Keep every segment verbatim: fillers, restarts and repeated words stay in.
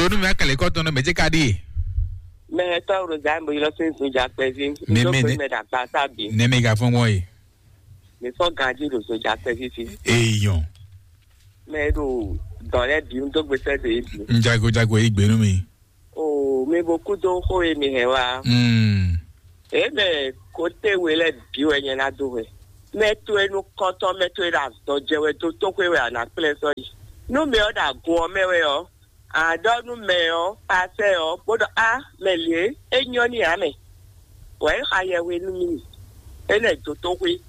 Nú mi wá kɛlɛ kɔ tɔn nɔ mɛ jɛ ka ɖi. Mɛ tɔ ro da mo yɔ sin zun ja kpɛ vi. Mi, mi, ne mɛ da gba sa bi. Ne mi ga fɔn mɔ yi. Mi fɔ ganji ro zun ja kpɛ vi fi. Eyɔn. Mɛ ɖo dɔn lɛ bi n do gbe sɛ de yi bi. N jago jago yi gbenu mi. O mi bo kudo xo ye mi hɛ wa. Mm. E mɛ kote we lɛ bi wɛ nyɛ na do wɛ. Mɛ to e nu kɔntɔn mɛ to e ɖo azɔ jɛ wɛ do to xwe wɛ a na kplɛ sɔ yi. Nu mɛ ɔ ɖo agun ɔ mɛ wɛ ɔ, a ɖɔ nú mɛ ɔ pasɛ ɔ bó ɖɔ a mɛ lě é nyɔ ní ǎ mɛ. Wɛ é xa yɛhwe nú mì. É nɛ dó tó xwé.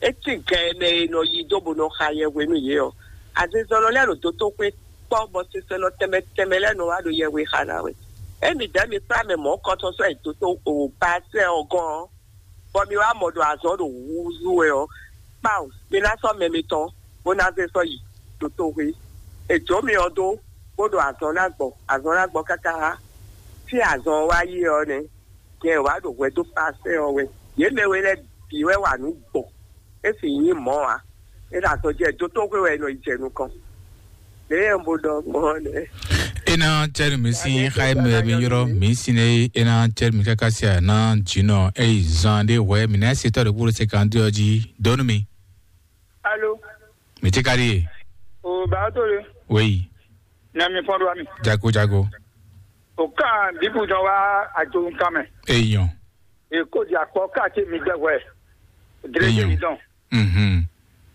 É tín gɛ mɛ e nɔ yi dó bó nɔ xa yɛhwe nú yě ɔ́, azinzɔnnɔ lɛ́ɛ ɖo dó tó xwé kpɔ́ bɔ sinsɛnnɔ tɛnmɛ tɛnmɛ lɛ́ɛ nɔ wá ɖo yɛhwe xa ná wɛ. Émi dɛ̌ mi kplá mɛ mɔ̌ kɔtɔn sɔ́ yi dó tó o pasɛ ɔ́ gɔ́n ɔ́, bɔ mi wá mɔ ɖo azɔn ɖo húzú wɛ ɔ́, kpawun mi ná sɔ́ mɛ mitɔn bó ná zé sɔ́ yi ɖo toxwé. È jǒ mi ɔ́ dó bó ɖo azɔn ná gbɔ, azɔn ná gbɔ káká. Fí azɔn wá yi ɔ́ nɛ́, nyɛ wǎ ɖo hwɛ dó pasɛ ɔ́ wɛ. Yě mɛ we lɛ́ɛ bǐ wɛ wa nǔ gbɔn, é sì nyí mɔ̌ ǎ. É ɖo azɔn jɛ dó toxwé wɛ è nɔ yi jɛ nukɔn. Lě e un bo ɖɔ gbɔn ɔ́ nɛ́. Ena cɛri mi sin xayi mɛ mi yɔrɔ mi sin ne ena cɛri mi kaka sia na jinɔ eyi zan de hwɛ mi na se tɔ de kúrò se kan de ɔji donu mi. Alo. Mi ti kari ye. O ba to le. Weyi. Na mi fɔn do ami. Jago jago. O kan bibu dɔn wa ajo kan mɛ. Eyɔn. E ko di akpɔ ka ti mi gbɛ hwɛ. Dre mi dɔn. Mhm.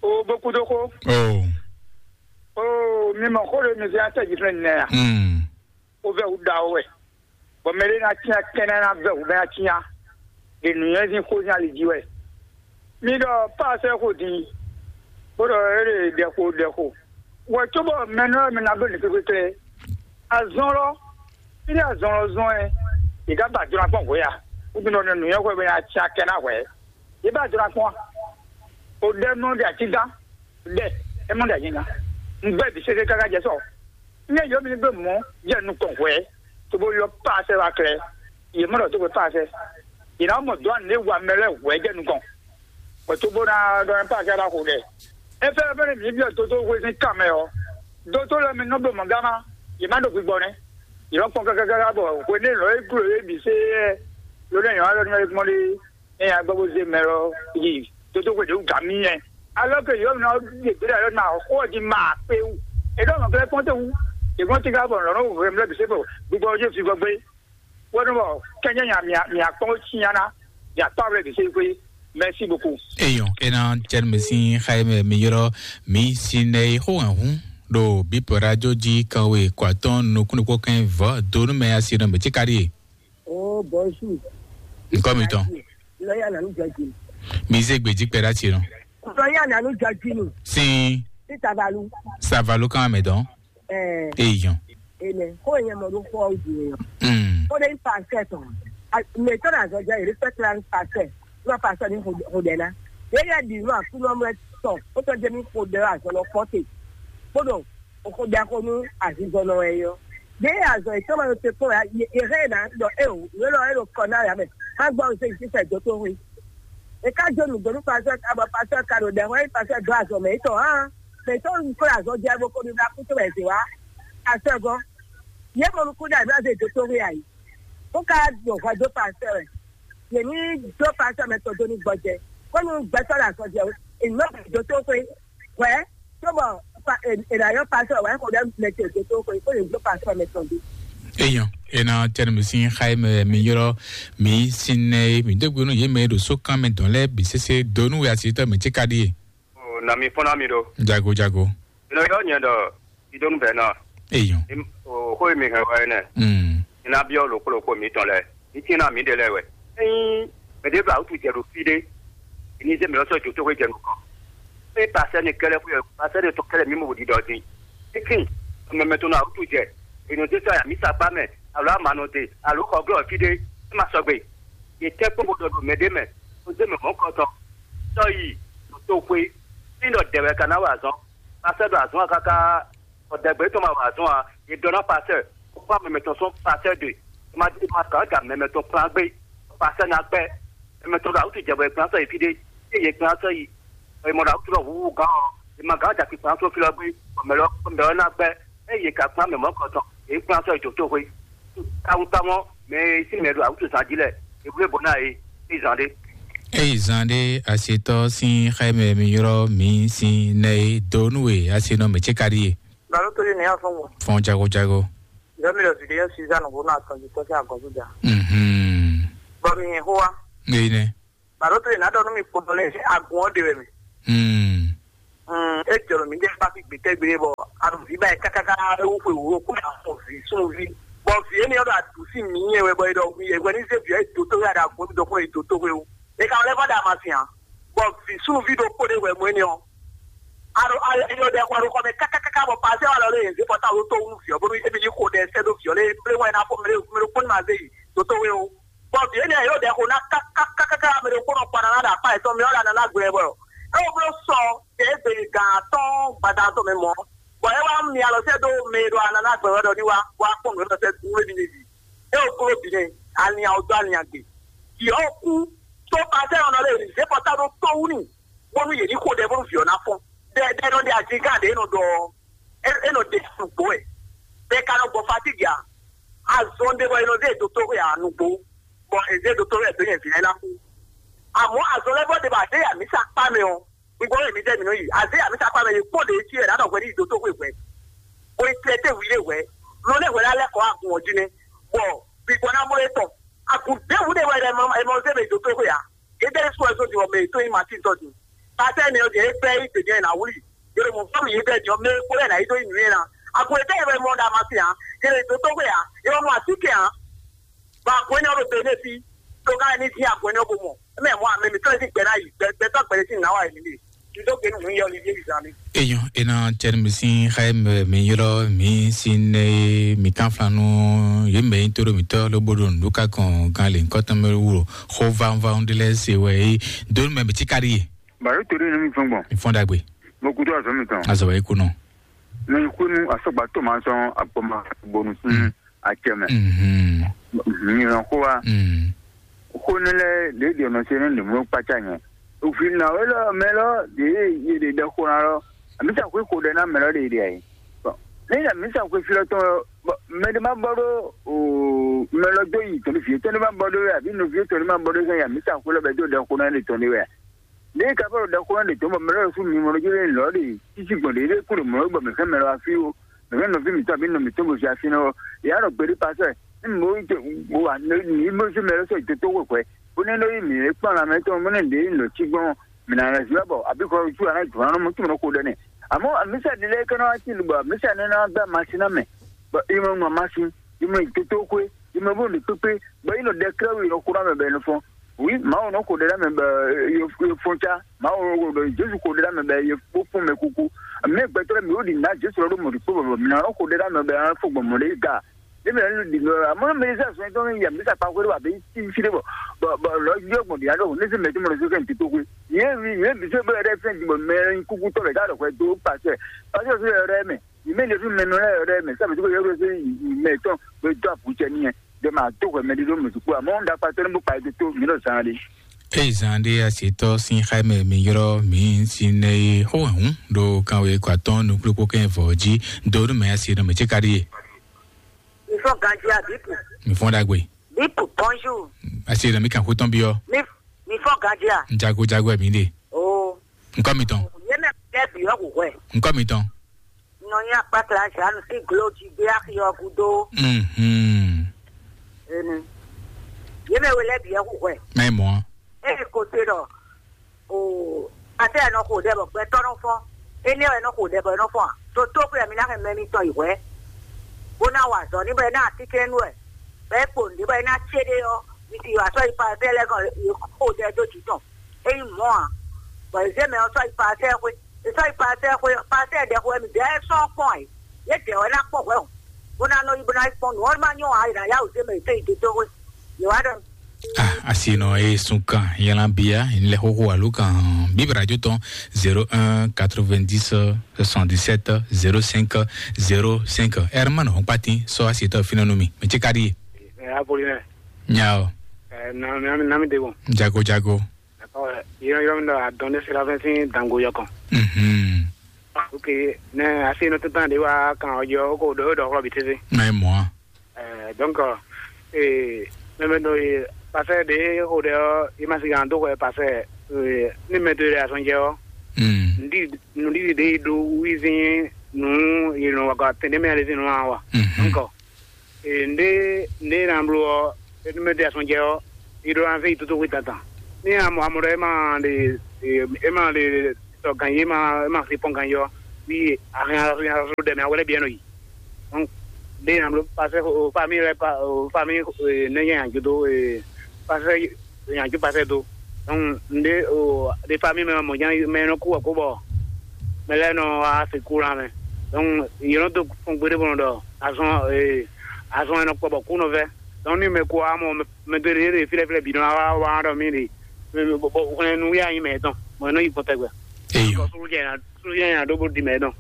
O bo kudo xo. Oh. O mi mɔ xo ɖe mi zɛ atɛ ji fɛn nɛ a? Mm. O vɛ wu da o wɛ. Bɔ mɛ ɖe na tia kɛnɛ na vɛ wu mɛ na tia. Ɖe nǔnywɛ́zin xo zin ali jí wɛ. Mi ɖɔ paasɛ xo din. Bó ɖɔ e ɖe ɖɛ xo ɖɛ xo. Wɛ cóbɔ mɛ nɔ mi na ɖo nǐ kpékpékplé. Azɔn lɔ, fí ɖé azɔn lɔ zɔn ɛ, yě ká ba jlɔ́ akpɔ́n hwě a? Wútu nɔ nǔnywɛ́ hwɛ bɛ nya cia kɛ ná hwɛ. Yě ba jlɔ́ akpɔ́n a? O ɖɛ nɔ ɖe atígán, ɖɛ, é mɔ ɖe anyigán. Un gbɛ bǐ sésé káká jɛ sɔ. Nyɛ yɔ mi ní gbé mɔ̌ jɛ nukɔn hwɛ, tó bó yɔ paasɛ wá klɛ. Yě mɔ ɖɔ tó gbé paasɛ. Yě ná mɔ dɔ̌ nǔ e wa mɛ lɛ́ɛ hwɛ jɛ nukɔn. Bɔ tó bó ná ɖɔ nú Paki ɔ́ ná xo ɖɛ. É fɛ́ fɛ́nɛ mǐ byɔ́ dótó hwezín kan mɛ ɔ́, dótó lɛ́ɛ mi nɔ bló mɔ̌ gán má, yě má ɖo gbigbɔ nɛ́. Yě nɔ kpɔn kákákáká bɔ hwenɛ́ lɔ̌ e glǒ é bǐ sé ɛ ló nɛ́ nyɔ̌ alɔ nú ɛ gbɔn ɖé é nya gbɔ bó zé mɛ lɔ yi dótó hwe ɖě wú gǎn mì nyɛ. Alɔ ke yǒ nɔ ɖe gbé ɖe alɔ ná xó ɔ́ jí ma kpé wú. É ɖɔ mɔ̌ kɛ́ kpɔ́n té wú. Yě gbɔn tíká bɔ lɔ̌ nɔ hwemlɛ́ bǐ sé bɔ gbigbɔ ɔ́ jí fi gbɔ gbé. Wɛnu bɔ kɛnyɛ nya mia mia kpɔn tsinyana mia kpawlɛ ɖe se kwe. Merci beaucoup. Eyɔn ena cɛn mi sin xayi mɛ mi yɔrɔ mi sin nɛ yi xo hɛn hun ɖo bipɔ radio ji kan we kɔ atɔn nukun ɖokpó kɛn vɔ donu mɛ asi nɔ mɛ tsi kari ye. Oh bonjour. Nkɔ mi tɔn. Lɔya nanu jɔji. Mi ze gbeji kpɛ ɖa tsi nɔ. Lɔya nanu jɔji nu. Sin. Sitavalu. Savalu kan mɛ dɔn. Eyɔn. Ene. Ko yẹn mɔ ɖo xɔ o di yẹn. Mm. Ko ɖe pastor tɔn. Mais tɔ na zɔ jɛ respect la pastor. Lo pastor ni ho de na. Ye ya di no aku no mɛ tɔ. O tɔ jɛ mi ko de azɔ lɔ kpɔte. Ko do o ko de ko nu azizɔ lɔ yɛ yɔ. Ye azɔ e tɔ ma te ko ya ye he na do e o. Ye lo e lo kɔ na ya mɛ. Ha gbɔ se ti se do to hui. E ka jo nu do nu pastor ka ba pastor ka do de ho pastor do azɔ mɛ to ha. Mɛ tɔn kó azɔ jɛ bó kó ní bá kú tó bɛ zè wá. Pastor gɔn. Yé mo nukú dá ìbí azɔ ètò tó rí àyè. Kó ká dùn ọ̀gá dó pastor rẹ̀. Yèmí dó pastor mɛ tɔn tó ní gbɔjɛ. Kó ní gbɛtɔ là sọ jẹ. Èmi náà kò tó tó pé. Wẹ́ tó bọ̀ ènìyàn pastor wẹ́ kò dẹ́ mẹ tẹ̀ tó tó pé kó lè dó pastor mɛ tɔn dé. Eyɔn ena tẹnu mi sin xayi mɛ mi yɔrɔ mi sin nɛ mi dégbe nu yé mɛ ɖo sókan mɛ dɔn lɛ bi sese donu wɛ asi tɔ mi tsi ka ɖi ye. O na mi fɔ́n ná mi ɖó. Jago jago. Inɔ yɔ nyɛ ɖɔ idonu bɛ na. Eyɔn. O xó mi hɛn wɛ nɛ. Mm. Ina biɔ lo kpolo ko mi tɔn lɛ. Ni tin na mi de lɛ wɛ. Eyin mɛ de ba utu jɛ ɖo fi de. Ini ze mi lɔ sɔ jo to ko jɛ nukɔn. E pasɛ ni kɛlɛ fu yɛ pasɛ ni to kɛlɛ mi mo di dɔ di. Ekin mɛ mɛ to na utu jɛ. Inu de sɔ ya mi sa gba mɛ. Alo ama nɔ de. Alo xɔ glɔ fi de. E ma sɔgbe. Yě tɛ́ kpɔ́n bó ɖɔ ɖo mɛ ɖé mɛ, bó zé mɛ mɔ̌hunkɔtɔn, sɔ́ yi ɖo toxwé, ní ɖɔ dɛ̌ wɛ ka ná wa azɔn. Pasɛ́ ɖo azɔn ɔ́ káká, bɔ dɛ̌gbé tɔn ma wa azɔn ǎ, yě ɖɔ ná pasɛ́, bó kpán mɛ mɛtɔn sɔ́ pasɛ́ ɖe, ma ma gǎn ja mɛ mɛtɔn kplán gbé, pasɛ́ ná gbɛ́, mɛ mɛtɔn ɖo awútu jɛ bɔ è kplán sɔ́ yi fí ɖé, ée yě kplán sɔ́ yi, bɔ è mɔ ɖo awútu lɔ húhú gǎn ɔ́, è ma gǎn ja kpikplán sɔ́ fí lɔ gbé, bɔ mɛ lɔ mɛ lɔ ná gbɛ́, ée yě ka kplán mɛ mɔ̌hunkɔtɔn, é kplán sɔ́ yi dotóxwé. Táwúntáwún mɛ e sín mɛ ɖo awútu zán jí lɛ, é wlé bɔ ná é é zán ɖé. Eyi zan ɖe asetɔ sín xɛmɛ mi ylɔ mi sín nɛ e do nú e asenɔ mɛ ce ka ɖi e. Balo to ɖi nɛ afɔn wɔ. Fɔn jago jago. Yɔ mi lɔ zidi yɔ sizan nɔ bo nɔ atɔn ji tɔ sín agɔzu ja. Mhm. Bɔ mi yɛn xó wa. Eyi nɛ. Balo to ɖi nɛ adɔ nú mi kpɔtɔ lɛ agun ɔ de wɛ mi. Hmm. Mm, e jɔrɔ mi ɖe kpafi gbetɛgbe bɔ aɖuvi ba yi kakaka ewu xwe wuro ko ya xɔ vi sunvi. Bɔ vi ene ɔdɔ aɖu si mi yɛ wɛ bɔ edɔ wi yɛ wɛ ni ze vi ɛ doto ya da gbɔ dɔ ko edoto we o. E ka lɛ va da ma si hã. Bɔ vi sunvi ɖo ko ɖe wɛ mo ene ɔ. Aɖo ayɔ ɖe xɔ ɖo xɔ mɛ kakaka bɔ pase wa lɔ le yɛn ze pɔta wo to wu vi ɔ bɔ ebi yi ko ɖe sɛ ɖo vi ɔ le ble wɛ na fɔ mɛ ɖe mɛ ɖo kpɔn ma ze yi doto we o. Bɔ vǐ énɛ́ yě ɖo ɖɛ xo ná kákákáká mɛ ɖokpónɔ kpɔ́n ná ɖo akpá yětɔn mɛ ɔ́ ɖo anana gbɛ bɔ é wɔ bló sɔ tɛ é gbe gan atɔ́ɔ́n gbada tɔn mɛ mɔ̌, bɔ é wá mi alɔ sɛ́ dó mɛ e ɖo anana gbɛ wɛ ɖɔ ní wá wá kpɔ́n nǔ élɔ́ sɛ́ nú émí n'i. É wɔ bló bǐ nɛ́, alinnya ɔ́ dó alinnya gbe. Vǐ ɔ́ kú, tó pasɛ́ ɔ́ nɔ lé zě kɔ tá ɖó tó wú n'i, bónú yě ní xo ɖɛ bónú vǐ ɔ́ ná fɔ́n. Ɖɛ ɖɛ nɔ ɖe ajigán ɖě nɔ ɖɔ ɔ́, é nɔ ɖe nǔgbó wɛ. Bɔ è ka nɔ gbɔ fatígi ǎ. Azɔn ɖé bɔ è nɔ zé dotóxwé ǎ nǔgbó, bɔ è zé dotóxwé ɛ dó nyɛ vǐ lɛ́ɛ ná kú. Amɔ̌ azɔn lɛ́ɛ bɔ ɖě bɔ a zé yi amǐsa kpá mɛ ɔ́, un gbɔ wɛ mǐdɛɛ mǐ nɔ yi. A zé yi amǐsa kpá mɛ, yě kpɔ́n ɖě cí wɛ ɖǎ ɖɔ hwɛ ní yi dotóxwé hwɛ, bó yi tlɛ té hwi lé hwɛ. Nɔ lɛ́ hwɛ ná lɛ́ kɔ agun ɔ́ jí nɛ́, bɔ gbígbɔ́ ná mɔ é tɔn. Agun ɖěbǔ ɖé wɛ è nɔ zé mɛ yi dotóxwé ǎ. Yědɛ́ sɔ́ ɛ sɔ́ din bɔ mɛ yětɔn nyí Matín tɔn din. Pasɛ́ nɛ ɔ́ jɛ é gbɛ́ yí gbějɛ ná wlí. Yě ɖo mɔ̌ fɔ́n mì yědɛ́ din ɔ́, mɛ e kpo lɛ́ɛ ná yi dó yi nǔ nyi ná. Agun yětɔn e wɛ mɔ ɖo Amasí ǎ, yě ɖo dó tó xwe ǎ, yě wɔ nɔ así kɛ ǎ. Bɔ agun énɛ́ ɔ́ ɖo Benɛ́si, tó ka wɛ ní dín agun énɛ́ ɔ́ bó mɔ. É mɛ mɔ amɛ mǐtɔn e sín gbɛ ná yi, gbɛ- gbɛtɔ́ gbɛɖe sín nǎ wa yě ní ɖe. Eyɔn, e na cɛn mi sin xɛ mi yɔrɔ mi sin ne mi kan flanu ye mɛ yin toro mi tɔ lo bodo ndu ka kɔn gan le nkɔtɔn mi wuro xo van van de lɛ se wɛ yi donu mɛ mi ti kari ye. Baro to de mi fɔn gbɔn. Mi fɔn dagbe. Mo kudo azɔ mi tɔn. Azɔ yi kunɔ. Mi kunu asɔgba to ma sɔn agbɔma bonu sin acɛ mɛ. Mhm. Mi yɔn ko wa. Mm. Xó nɛ́ lɛ́ɛ ɖě ɖi ɔnɔ ce nú nǔmlú kpácá nyɛ. Òfin nǎwe lɔ mɛ lɔ ɖě yě ɖe ɖɛ xó ná lɔ, amǐsa xwé xo ɖɛ ná mɛ lɔ ɖě ɖe ayǐ. Bɔn ní amǐsa xwé fí lɔ tɔn bɔ mɛ ɖé má bɔ ɖó mɛ lɔ dó yi tɔn vǐ tɔn ɖé má bɔ ɖó wɛ, àbí nɔví tɔn ɖé má bɔ ɖó sɛn amǐsa xwé lɔ bɛ dó ɖɛ xó ná ɖe tɔn ɖé wɛ. Ní ka fɔ ɖɔ xó ná ɖe tɔn bɔ mɛ lɔ sú mi mɔ ɖó jɛ lɔ ɖe títí gbɔn ɖě ɖé kú ɖo mɔ bɔ mɛ fɛn mɛ lɔ afí o. Mɛ nɔví mǐtɔn abǐ nɔ mǐtɔn bó sia fínɛ́ ɔ́, yě á nɔ gbeɖé pasɛ. Ní mǐ bó ní te bó wà ní bó zé mɛ lɛ́ɛ sɔ́ yi tótó xwɛxwɛ, bó ní ɖó yí mǐ é kpɔ́n lanmɛ tɔn bó ní ɖě nɔ cí gbɔn mǐ ná lɛ́ zíwá bɔ abǐ kɔ wútu aná jǒ ná mɔ túmọ̀ kó ɖɔ nɛ́. Àmọ́ àmísà ɖi lɛ́ɛ kɛ́ nɔ wá tín bɔ àmísà ní ná gbá masin ná mɛ, bɔ é mɔ mɔ masin, é mɔ yi tótó xwé, é mɔ bó nǔ kpékpé, bɔ é nɔ ɖɛ klɛ́ wú yi nɔ xó ná mɛ bɔ é nɔ fɔ́n. Wi, Mawu nɔ xo ɖe ɖa mɛ bɔ ye fɔn ca. Mawu ɖɔ Jesu xo ɖe ɖa mɛ bɔ ye kpó fún mɛ kuku. Mɛ gbɛtɔ́ mi wo ɖi na Jesu lɔ ɖo mɔ ɖi kpó bɔ mi na xo ɖe ɖa mɛ bɔ an fo gbɔn mɔ ɖe ga. Ne mɛ nu ɖi nɔ amɔ mɛ sa sɔn tɔn ya mi sa kpa xwe ɖe wa be ti fi ɖe bɔ bɔ bɔ lɔ yɔ gbɔn ɖi aɖo ne se mɛ to mɔ ɖe so kɛ n ti to xwe. Ye mi ye bi se bɛ ɖe fɛn di bɔ mɛ kuku tɔ bɛ da ɖɔ xwe do pasɛ pasɛ so yɛ ɖe mɛ. Yě mɛ ɖě fún mɛ nɔ lɛ́ɛ ɖɛ́ mɛ, sábà tí kò yɛ wúlò sí mɛ tɔn bɛ dó àpòjɛ nìyẹn, bɛ máa tó hwɛ mɛ ɖé ɖó mɛ sùkú, àmọ́ ń da kpatɔ ní bó pa ètò tó mí lọ zan ɖé. Eyi zan ɖé asetɔ sin xaimɛ mi ylɔ mi sin nɛ ye xó hɛn ɖo kanwe kɔ atɔn nukplokpo kɛ vɔ jí do nu mɛ asi nɔ mɛ tsi ka ɖi ye. Mi fɔ ganji a bipu. Mi fɔ dagbe. Bipu, bonjour. Asi nɔ mi kan xó tɔn biɔ. Mi mi fɔ ganji a. Jago jago mi de. Oh. Nkɔ mi tɔn. Ye mɛ kɛ bi yɔ hu hwɛ. Nkɔ mi tɔn. Nɔ nyi akpakla Jeanne sín glo jí gbé axi ɔ́ gúdo. Mhm. Enu. Yě mɛ we lɛ́ɛ bǐ wɛ hu hwɛ. Mɛ mɔ. Eye ko se ɖɔ o ate ɛ nɔ xo ɖɛ bɔ gbɛtɔ́ nɔ fɔ́n. Énɛ́ wɛ nɔ xo ɖɛ bɔ é nɔ fɔ́n a? Ɖo tó xwé ɛ mi ná hɛn mɛ mitɔn yi hwɛ. Bó ná wa azɔ̌ ní bɔ é ná atínkɛ́nnú wɛ. Bɔ é kpo nǔɖé bɔ é ná cé ɖé ɔ́, mi ti wa sɔ́ yi pa fɛ́ lɛ́ɛ gɔn xo ɖɛ dó jǐ tɔn. É nyí mɔ̌ ǎ. Bɔ è zě mɛ ɔ́ sɔ́ yi Palasɛ́ɛ xwé. È sɔ́ yi Palasɛ́ɛ xwé ɔ́, Palasɛ́ɛ ɖɛ xo wɛ mǐ dɛ́ sɔ́ kpɔ́n ǎ. Yě dɛ̌ wɛ ná kpɔ́n hwɛ̌ hǔn, bó ná nɔ yi bó ná yi kpɔ́n nǔ ɔ́ má nyɔ́ ǎ, è nǎ yá wǔ zé mɛ yě tɔn yi dodó xwé. Yě wá ɖɔ. Ah, asi nɔ e sun kan yɛlɛn bia lɛ xoxo alo kan bíbí radio tɔn zéro un quatre-vingt-dix soixante-dix-sept zéro cinq zéro cinq. Ɛrɛ ma nɔ hɔn kpatin sɔ asi tɔ finɛ nu mi mɛ tsi ka di. Ɛ, Apolinɛ. Nya o. Ɛ, na mi na mi na mi de bɔ. Jago jago. Yɔrɔ yɔrɔ mi dɔ adɔn ne sira fɛn sin dango yɔkɔn. Mhm. Ok, nɛ asi nɔ tɛtɛn ɖe wá kan ɔjɔ ko ɖo ɖɔ xlɔ bi tete. Nɛ mɔ. Donc, eh, mɛmɛ do ye pasɛ ɖe xo ɖe ɔ, i ma si gan do xɔ pasɛ, eh, ni mɛ do ye asɔn jɛ ɔ. Mm. Ndi ndi de do wizi nu ye no wa tɛnɛ mɛ ale zin wa. Mhm. Donc, eh, nde nde na blo ɔ, ni mɛ do ye asɔn jɛ ɔ, i ɖo anze yi toto xwe dandan. Ni amɔ amɔ ɖɔ e ma ɖe, e ma ɖe tɔ gan yi, e ma e ma xi pɔn gan yi ɔ, wi ahɛn ahɛn ɖɛ mɛ awɛ lɛ biɛ nɔ yi. Donc, ɖe na blo pasɛ o famille lɛ pa o famille, ne nya nya do e pasɛ nya ju pasɛ do. Donc, nde o de famille mɛ mɔ nya mɛ nɔ ku ɔ ko bɔ mɛ lɛ nɔ wá se ku la mɛ. Donc, yɛ nɔ do kpɔn gbede bɔ nɔ ɖɔ azɔn, azɔn e nɔ kpɔ bɔ ku nɔ vɛ. Donc, ni mɛ ko amɔ mɛ do ɖe ɖe filɛ filɛ bi nɔ wá wá ɖɔ mi ɖe, bɔ hwlɛn nu ya nyi mɛ tɔn mɔ nɔ yi kpɔtɛgbɛ. Eyo. Sulu jɛ na sulu jɛ na ɖo bó di mɛ tɔn.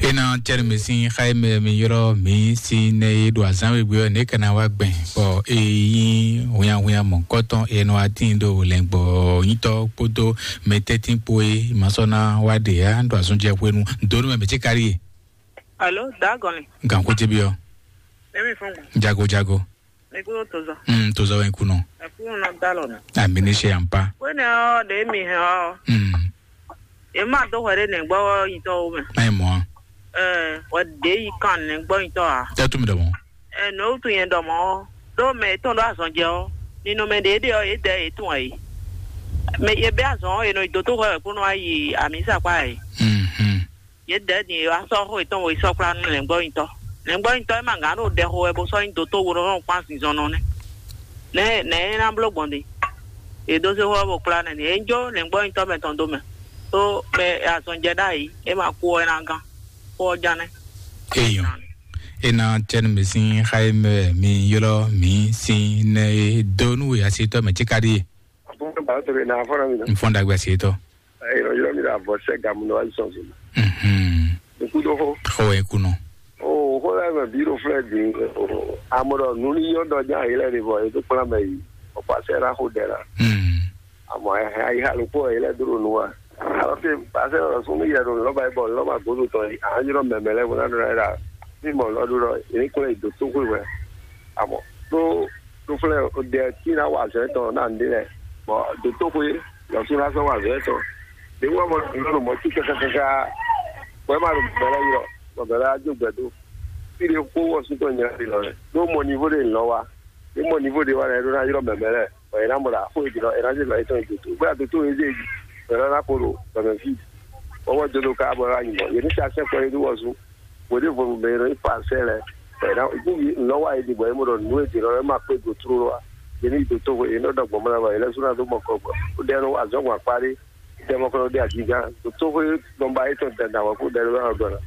Ena tɛnu mi sin xa mɛ mi yɔrɔ mi sin ne e ɖo azan we gbe ɔ ne kana wa gbɛn bɔ e yi hunya hunya mɔ kɔtɔn e nɔ atin ɖo lɛngbɔ nyitɔ kpódó mɛ tɛtin kpo e ma sɔ na wa ɖe ya ɖo azɔn jɛ hwenu donu mɛ mɛ tsi kari ye. Alo, dagɔnli. Gan ko ti bi ɔ. Emi fɔn gbɔn. Jago jago. Mi kúrò tozɔ. Mm, tozɔ wɛ kunɔ. Ẹ kúrò nɔ dá lɔ nù. Ami ní ṣe à ń pa. Wéne ɔ ɖe mi hɛn ɔ. Mm. Ema dó hwɛ ɖe nɛgbɔ yitɔ wo mɛ. Má yi mɔ. Ɛ, wɛ ɖe yi kan nɛgbɔ yitɔ a. Tɛ tún mi ɖɔ mɔ. Ɛ, nɔ wutu yẹn ɖɔ mɔ. Ɖo mɛ etɔn ɖo azɔn jɛ ɔ. Nínú mɛ ɖe ɖe ɔ, yé dɛ yé tún ɛ. Mɛ yé bɛ azɔn ɔ, yé nɔ yi dó tó hwɛ wɛ kpónɔ ayi ami sakpa ɛ. Mhm. Yě dɛ̌ din e wá sɔ́ xó yětɔn wo yi sɔ́ kplá nú lɛ̌ngbɔ́nyitɔ́. Lɛ̌ngbɔ́nyitɔ́ e ma gǎn ɖo ɖɛ xo wɛ bó sɔ́ nyí dotó wo nɔ kpán zinzɔnnɔ nɛ́. Nɛ̌ nɛ̌ é ná bló gbɔn din? È dó zé xó ɔ́ bó kplá nɛ́ din. É jó lɛ̌ngbɔ́nyitɔ́ mɛ tɔn dó mɛ. Tó mɛ e azɔn jɛ ɖ'ayǐ, é ma kú ɔ́, é ná gán. Xó ɔ́ ján nɛ́. Eyɔn. E na tɛnu mi sin xa e mɛ mi ylɔ mi sin nɛ e do nú we asi tɔ mɛ cika ɖi. N fɔn ɖagbe asi tɔ. Ɛ, yɔyɔ mi ɖo avɔ sɛ gamu nɔ ayi sɔn so. Mhm. Nkudo xo. Xɔ wɛ kunɔ. O xo la mɛ bi ɖo flɛ di. Amɔ ɖɔ nu ni yɔ dɔ jan yi lɛ ni vɔ e to kpla mɛ yi. O pasɛ la xo dɛ la. Mhm. Amɔ ɛ ayi ha lukpo yi lɛ dro nu wa. Alɔ ke pasɛ lɔ sun mi yɛ ɖo lɔba yi bɔ lɔba godo tɔ yi. A yɔ mɛmɛ lɛ vo na ɖo la yi la. Mi mɔ lɔ ɖo lɔ yi klo yi do to xwe wɛ. Amɔ ɖo ɖo flɛ o dɛ ti na wa azɔ etɔn na nde lɛ. Bɔ do to xwe. Lɔsu na sɔn wa zɔɛ tɔn. Ɖe wɔ mɔ lɔ mɔ ti kaka kaka. Bɔ ma ɖo bɛlɛ yɔ. Bɔ bɛlɛ ajo gbɛ do. Fi ɖe kpo wɔ sutɔ nya ɖe lɔ lɛ. Ɖo mɔ nivo ɖe lɔ wa. Ɖe mɔ nivo ɖe wa lɛ ɖo na yrɔ mɛmɛ lɛ. Bɔ yɛ na mɔ la fo edzi lɔ yɛ na dze lɔ etɔn edzo to. Bɔ adoto eze edzi. Bɛlɛ na ko ɖo bɛmɛ fi. Bɔ wɔ do do ka bɔ la nyi bɔ. Yɛ ni sa sɛ kɔ edu wɔ su. Bɔ ɖe vɔ mɛ yɛ nɔ yi pa sɛ lɛ. Bɔ yɛ na ibu yi lɔ wa edi bɔ yɛ mo ɖɔ nu edi lɔ yɛ ma kpe go tro wa. Yɛ ni do to yɛ nɔ dɔ gbɔmɔ la bɔ yɛ lɛ su na do mɔ kɔ gbɔ. O ɖɛ nɔ wa zɔn gbɔn akpa ɖe. Dɛmɔkplɔ ɖe agigan. Totoxwe nɔmba etɔn dada wɔ ko dɛrɛ wɛ ɔgbɛn.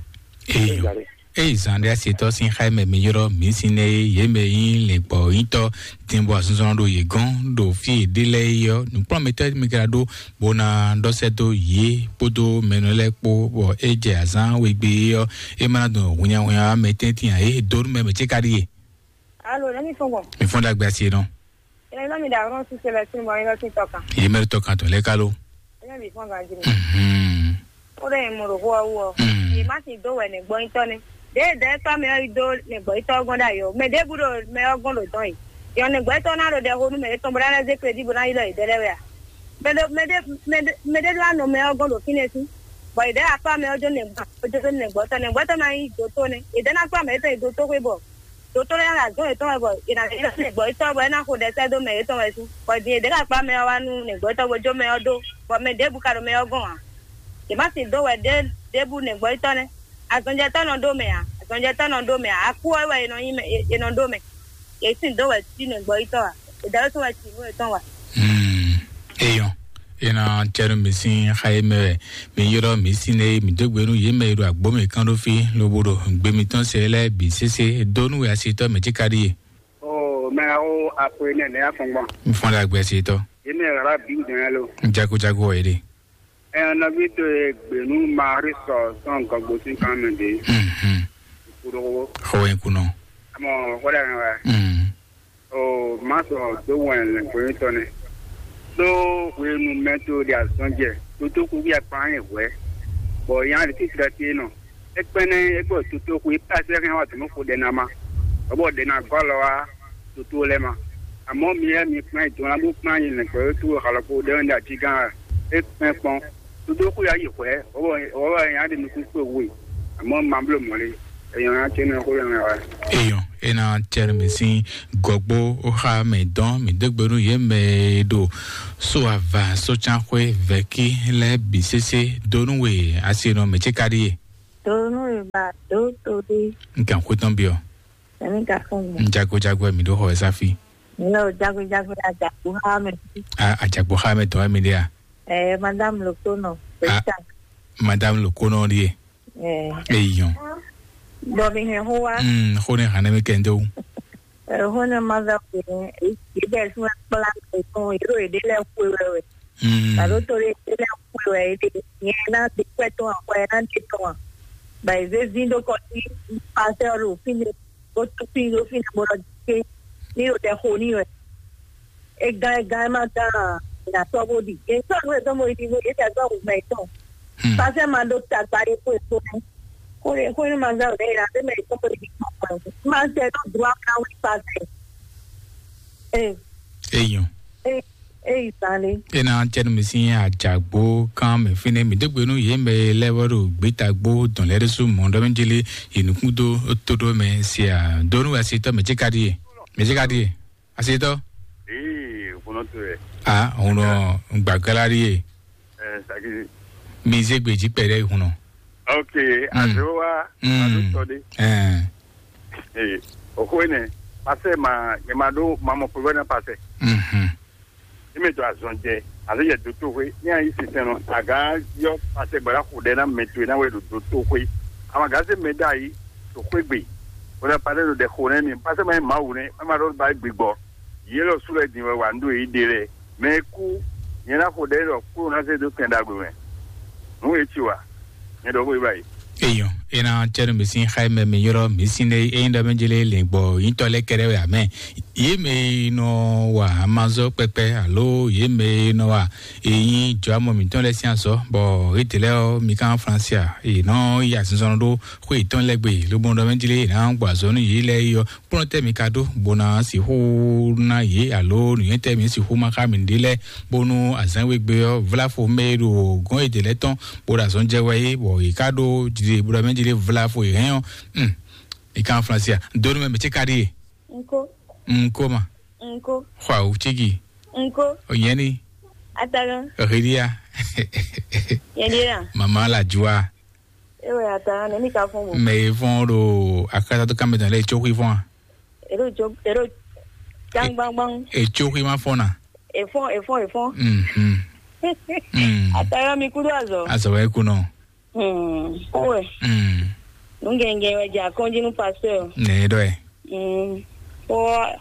Eyi. Eyi zan ɖe asetɔ sin xa mɛ mi yrɔ mi sin nɛ ye mɛ yi lɛgbɔ yitɔ. Tin bɔ asunzɔn ɖo ye gɔn ɖo fi ɖe lɛ yi ɔ nukplɔmɛtɔ mi kra ɖo bona ɖɔsɛ do ye kpodo mɛnɔ lɛ kpo bɔ e jɛ azan wegbe ye ɔ e ma do hunyahunya mɛ tɛntin a ye do mɛ mɛ ce ka ɖi ye. Alo, ne mi fɔn gbɔn. Mi fɔn ɖagbe asi nɔ. Ɛ lɔ mi ɖo ahɔn sise le sin bɔ yin lɔ sin tɔ kan. Ye mɛ tɔ kan tɔ lɛ kalo. Ɛ lɔ mi fɔn ganji ni. Mhm. O ɖe mo ɖo xo awu ɔ. Mm. Ye ma sin do wɛ ne gbɔ yin tɔ ne. De de tɔ mi ɔ yi do ne gbɔ yin tɔ gɔn da yo. Mɛ de bu ɖo mɛ ɔ gɔn ɖo dɔn yi. Yɔ ne gbɔ yin tɔ na ɖo ɖɛ xo nu mɛ etɔn bo na lɛ ze kredi bo na yi lɔ yi de lɛ wɛ a. Mɛ de mɛ de mɛ de mɛ de do anɔ mɛ ɔ gɔn ɖo fine si. Bɔ yi de akpa mɛ ɔ jo ne gbɔ jo ne gbɔ tɔ ne gbɔ tɔ na yi do to ne. Yi de na kpa mɛ etɔn yi do to xwe bɔ. Dotolo ya la zɔn yětɔn wɛ bɔ è nǎ lɛ́ gbɔ yětɔn bɔ é ná xo ɖɛsɛ dó mɛ yětɔn wɛ sú. Bɔ din è ɖě ka kpá mɛ ɔ́ wá nú nɛ̌gbɔ́tɔ́ bó jó mɛ ɔ́ dó, bɔ mɛ ɖěbǔ ka ɖo mɛ ɔ́ gɔ́n ǎ. Yě má sin dó wɛ ɖě ɖěbǔ nɛ̌gbɔ́tɔ́ nɛ́. Azɔnjɛtɔ́ nɔ dó mɛ ǎ, azɔnjɛtɔ́ nɔ dó mɛ ǎ. Akú ɔ́ wɛ è nɔ nyí mɛ è nɔ dó mɛ. Yě sin dó wɛ cí nɛ̌gbɔ́yítɔ́ ǎ. È dǎwe tɔn wɛ cí nǔ yětɔn wa. Hmm. Eyɔn. Ena tɛnu mi sin xa yi mɛ wɛ mi ylɔ mi sin ne mi dó gbe nú yě mɛ e ɖo agbǒ mɛ kán ɖó fí lobo ɖo gbe mitɔn se lɛ́ɛ bǐ sésé dó nú wɛ asitɔ mɛ cíka ɖíe. O mɛ awo akwe nɛ nɛ afɔngbɔn. N fɔn ɖe agbe asitɔ. Yě mɛ ɣla bí dɔn yá lo. N jago jago wɔ yé ɖe. Ɛ nɔví to e gbenu Marisɔ sɔn gɔgbo sín kan mɛ ɖe. Mhm. Kuɖowo. Xɔ wɛ kunɔ. Amɔ xɔ ɖe wɛ. Mhm. O ma sɔ do wɛn lɛngbɔnyitɔ nɛ. Ɖó hwenu mɛ to ɖe azɔn jɛ, ɖo tó kú bí akpa nyi hwɛ. Bɔ nya ɖe títí ɖe nɔ. Ekpɛnɛ egbɔ toto xwe pasɛ hɛn wa tɔmɔ xo ɖe na ma. Ɔbɔ ɖe na gɔlɔ wa toto lɛ ma. Amɔ mi yɛ mi kpɛn dɔn la bo kpɛn yi lɛ kpɛ to xalɔ ko ɖe wɛn da ti gan. Ekpɛn kpɔn. Toto xwe ya yi xwɛ. Ɔbɔ ɔbɔ nya ɖe nukun kpe we. Amɔ ma blo mɔle. Eyan ya tse nɔ xo yɛ wa. Eyɔn, ena tɛnumɛ sín gɔgbó ó xa mɛ dɔn mɛ dégbe nú yě mɛ e ɖo so ava sócánxwé vɛ̌kí lɛ́ɛ bǐ sésé dó nú we asi nɔ mɛ ce ka ɖíe. Donu e ba do to ɖe. N kan xwé tɔn biɔ. Ɛni ka fún mi. N jago jago mi ɖo xɔ ɛ sáfi. Nɔ jago jago ya jago ha mɛ. A ajagbo xa mɛ tɔn mi ɖe a. Ɛ madame le kono. Ah. Madame le kono ɖie. Ɛ. Eyɔn. Bɔ mi hɛn ho wa. Mm, xo ne hane mi kɛnde o. Ɛ ho ne ma za ko. Ɛ bɛ sun kpla ko. Ero ede le ko we we. Mm. Alo to le le ko we ede. Nye na de kwɛ tɔn a, kwɛ na de tɔn a. Ba eze zin do kɔ ti pasteur o fine. Bo tu fine do fine bo lɔ ke. Ni o de ho ni we. E gan e gan e ma gan a, na tɔ bo di. E tɔ nu e tɔ bo di bo e ta tɔ bo mɛ tɔn. Hmm. Pasteur ma do ta gba de ko e ko ne. Ko e ko ne ma gan o de na de mɛ tɔ bo di ko ko. Ma se do droit ka wi pasteur. Eh. Eyɔn. Eh, eh, Sale. Ena tɛnu mi sin ajagbo kan mi fine mi dégbe nú yě mɛ lɛ́ wɛ ɖo gbétagbó dɔn lɛ́ ɖésú mɔ̌ ɖɔ mɛ jeli yi nukún dó tó ɖó mɛ sia dó nú asitɔ mɛ jika ɖie. Mɛ jika ɖie. Asitɔ. Ee, kɔnɔ to yɛ. Ah, òun nɔ gbàgbára ɖie. Ɛ saki. Mi zé gbèjì pẹ̀lẹ́ ìhun nɔ. Ok. Mm. Àti wá. Mm. Àti tọ́ dé. Ẹ. Ee, òxó énɛ́, pasɛ ma nyɛ ma ɖó ma mɔ pɛgbɛ ná pasɛ. Mhm. Eme to azɔn jɛ, ale yɛ doto hwe ní ayi sinsɛn nɔ aga yɔ pasɛ gbala xo ɖɛ ná mɛ to ná wɛ ɖo doto hwe. Ama gase mɛ da yi to xwe gbe. Wala pasɛ ɖo ɖɛ xo nɛ mi pasɛ ma yi mawu nɛ ma ɖo ba gbigbɔ. Yé lɔ su lɛ din wɛ wa ndo yi de lɛ. Mɛ e kú, nyɛ ná xo ɖɛ ɖɔ kúrò ná zé dó kɛn ɖagbe mɛ. Nǔ e ci wa, nyɛ ɖɔ xó e ba yi. Eyɔn, ena tɛnu mi sin xayi mɛ mi yɔrɔ mi sin ne eyin ɖɔ mi jele le gbɔ yin tɔ lɛ kɛɖɛ wɛ amɛ. Ye mɛ nɔ wa amazɔ kpɛkpɛ alo ye mɛ nɔ wa eyin jɔ amɔ mi tɔn lɛ sin azɔ bɔ ete lɛ ɔ mi kan fransia e nɔ ya sinzɔn ɖo xo etɔn lɛ gbe lobɔ ɖɔ mi jele na gbɔ azɔ nu yi lɛ yi ɔ kplɔ́n tɛ́ mi ka ɖó bó ná sixú ná yě alo nǔnywɛ́ tɛ́ mi sixú ma xá mi ɖe lɛ́ɛ bónú azǎn we gbe ɔ́ vlá fo mɛ e ɖo gɔ̌n e dě lɛ́ɛ tɔn bó ɖo azɔn jɛ wɛ é bɔ yě ká ɖó jlé bó ɖo mɛ jlé vlá fo yě hɛn ɔ́. Hmm. Yě ká Aflánsia dónú mɛ mɛ ce ka ɖíe. Nko. Nko ma. Nko. Xɔ awu cígi. Nko. Ònyɛ́ni. Atagan. Òhìlíà. Yɛn ɖíe la. Màmá la jua. Ewe ata ne mi ka fún bo. Mɛ e fɔn ɖo akatatu kanmɛ tɔn lɛ etso xwi fɔn a? Eɖo jo eɖo jangbangbang. Etso xwi ma fɔn na. Efɔn efɔn efɔn. Mhm. Mm. Atayɔ mi kudo azɔ. Azɔ wɛ kunɔ. Hmm. Owe. Mm. Nungɛngɛn wɛ ja kɔnji nu pasteur. Ne ɖɔ ɛ. Mm. O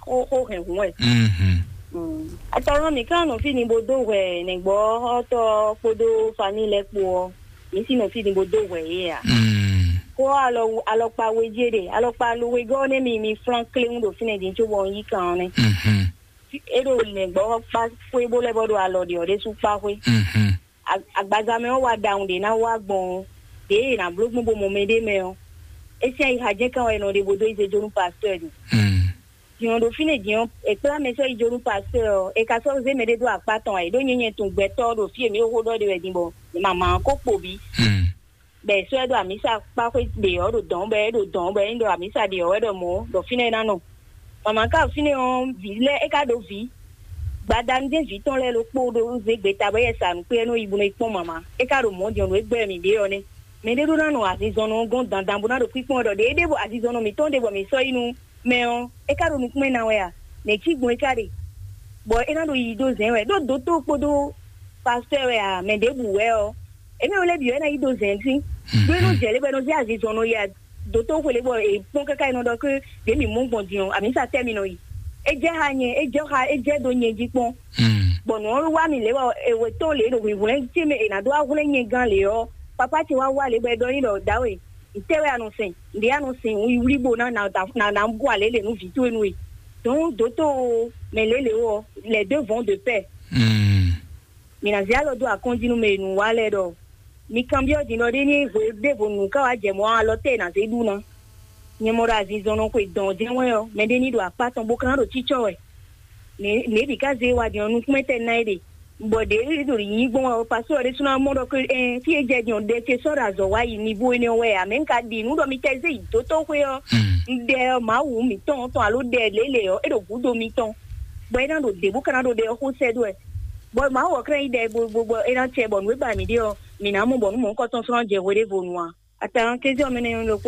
o o hɛn hun wɛ. Mhm. Mm. Atayɔ mi kan nɔ fi ni bo do hwɛ nɛgbɔ ɔtɔ kpodo famille lɛ kpo ɔ. Mi si nɔ fi ni bo do hwɛ ye a. Mm. Ko alɔ alɔkpa we je de alɔkpa lo we gɔ ne mi mi flan kle ŋu do fi ne din tso bɔ yi kan ne. Mhm. E ɖo nɛgbɔ kpa xwe bo lɛ bɔ ɖo alɔ de ɔ de su kpa xwe. Mhm. Agbaza mɛ ɔ wa dawun de na wa gbɔn de e na blo gbɔn bo mɔ mɛ de mɛ ɔ. Esi ayi ha jɛ kan wɛ nɔ de bo do ize jonu pasteur de. Mm. Din ɔ ɖo fínɛ́ din ɔ́, è kplá mɛ sɔ́ yi jó nú pasteur ɔ́, è ka sɔ́ zé mɛɖé dó akpá tɔn ǎ, é ɖó nyɛ nyɛ tunwun gbɛtɔ́ ɔ́ ɖo fí e mǐ ɖo xó ɖɔ ɖe wɛ din bɔ mama ɔ́ ko kpo bǐ. Hmm. Bɔ è sɔ́ ɛ ɖo amǐsa kpá xwé ɖe ɔ́ ɖo dɔ̌n bɔ é ɖo dɔ̌n bɔ é nyí ɖɔ amǐsa ɖe ɔ́ wɛ ɖɔ mɔ̌ ɖɔ fínɛ́ é ná nɔ. Mama ka ɖo fínɛ́ ɔ́, vǐ lɛ́ɛ é ka ɖo vǐ. Gbadanu jɛ́n vǐ tɔn lɛ́ɛ ɖokpó ɖó zé gbeta bɔ é yɛ sa nǔ kpé é nɔ yi bó nɔ yi kpɔ́n mama. É ka ɖo mɔ̌ din ɔ́, nǔ e gbɛ́ mǐ ɖe ɔ́ nɛ́. Mɛɖé ɖó ná nɔ azinzɔnnɔ ɔ́ gɔ́n dandan bó ná ɖo kpíkpɔ́n wɛ ɖɔ ɖě é ɖe bɔ azinzɔnnɔ mǐtɔn ɖe bɔ mǐ sɔ́ yi nú mɛ ɔ́, é ka ɖo nukúnmɛ ná wɛ a? Nɛ̌ cí gbɔn é ka ɖe? Bɔ é ná ɖo yiyi dó zɛ̌n wɛ, ɖó dotó kpódó pastɔ́ wɛ a, mɛ ɖěbǔ wɛ ɔ́, émí lɛ́ɛ bǐ wɛ ná yi dó zɛ̌n sín. Ɖó é nɔ jɛ lě bɔ é nɔ zé azinzɔnnɔ yi a, dotó xwelé bɔ è kpɔ́n káká é nɔ ɖɔ ké ɖě mǐ mɔ gbɔn din ɔ́, amǐsa tɛ́ mi nɔ yi? É jɛ xá nyɛ, é jɛ xá, é jɛ dó nyɛ jí kpɔ́n. Bɔ nǔ ɔ́ wá mi lě bɔ è wɛ tɔn lě ɖo hwǐhwlɛ́n ce mɛ è nǎ dó wá hwlɛ́n nyɛ gán lě ɔ́, papá ce wá wá lě bɔ é ɖɔ n'i ɖɔ dǎwe, ntɛ́ wɛ a nɔ sɛn? Nɖě a nɔ sɛn wǔ yi wlí bó ná na na na bú alě lě nú vǐ towe nú we. Donc dǒtó mɛ lě lě ɔ́, les deux vont de pair. Mǐ ná zé alɔ dó akɔ́njí nú mɛ e nǔ wa lɛ́ɛ ɖɔ Mi kanbyɔ́ din ɖɔ ɖé ní hwe ɖěvo nǔ ká wá jɛ mɔ̌ alɔ tɛ́ è nǎ zé ɖu ná. Nyɛ mɔ ɖo azinzɔnnɔ xwe dɔn jɛ́n wɛ ɔ́, mɛɖé ní ɖo akpá tɔn bó ka ná ɖo cícɔ́ wɛ. Nɛ̌ bǐ ká zé wa din ɔ́, nukúnmɛ tɛ́ ná é ɖe. Bɔ ɖě ɖo yǐ gbɔn wɛ ɔ́, pasó ɔ́ ɖésúnɔ mɔ ɖɔ ké, ɛn, fí e jɛ din ɔ́, ɖe ce sɔ́ ɖo azɔ̌ wá yi nivo énɛ́ wɛ ǎ. Mɛ̌ un ka ɖi nǔ ɖɔ mi tɛ zé yi dótóxwé ɔ́, un ɖɛ ɔ́, Mawu mǐtɔn tɔn alo ɖɛ lělě ɔ́, é ɖo gǔdo mitɔn, bɔ é ná ɖo dě bó ka ná ɖo ɖɛ ɔ́ xó sɛ́ dó wɛ. Bɔ Mawu ɔ́ ká ná yi ɖɛ bo bo bɔ é ná cɛ bɔ nǔ e ba mǐ ɖe ɔ́, mǐ ná mɔ bɔ nǔ mɔ̌hunkɔtɔn sɔ́ ná jɛ hweɖěvo nu ǎ. Atǎn kézé ɔ́ mɛ nɛ́ nyɔ́ ɖo